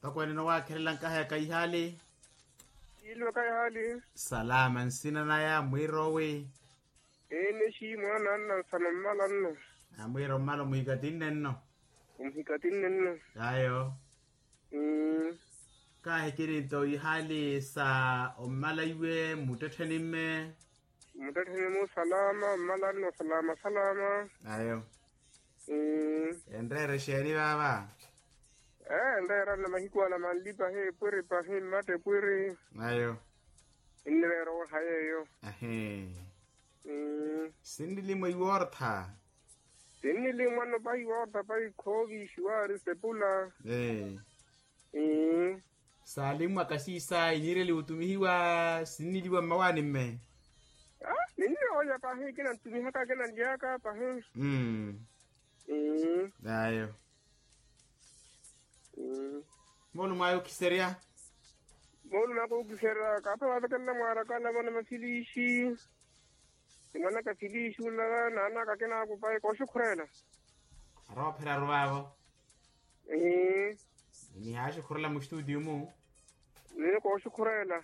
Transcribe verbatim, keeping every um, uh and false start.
Mpakha wenene owaakherela nkaha ya kaihaali. Iilwe kaihaali. Salama nsina naya mwiirowi. Ene xii mwaana anna nsana mmala nno. Amwiiro mmala omuhikatinne nno. Omuhikatinne nno. Ayo. Kaahikiri nto ihaali sa ommala iwe mmuttettheni mme. Mmuttettheni mu salama mmala nno salama salama. Ayo. Enreera exeeni vaava. Enreera nna mahiku ala manli pahi epwiri pahi mmatta epwiri. Ayo. Ennireera owaha yeeyo. Ahi. Sinnilimwa iwoortha. Sinnilimwa nno pahi iwoortha pahi khoovi xiwaari sepula. Saalimmwaka siisayi niireliwa otumihiwa sinniliwa mmawaani mme. Ninniwoonya pahi kina ntumihaka kina nlyaka pahi. Ayo. Moolumo ayo okhiserya. Moolumo ayo okhiserya kaapha waavekelela mwaaraka navona mafiliixi. Nimwanaka filiixi ula naanaka kinakupa ekooxukhurela. Aroopheraru vaavo. Nihaaxukhurela mustutiyo mu. Niyo kooxukhurela.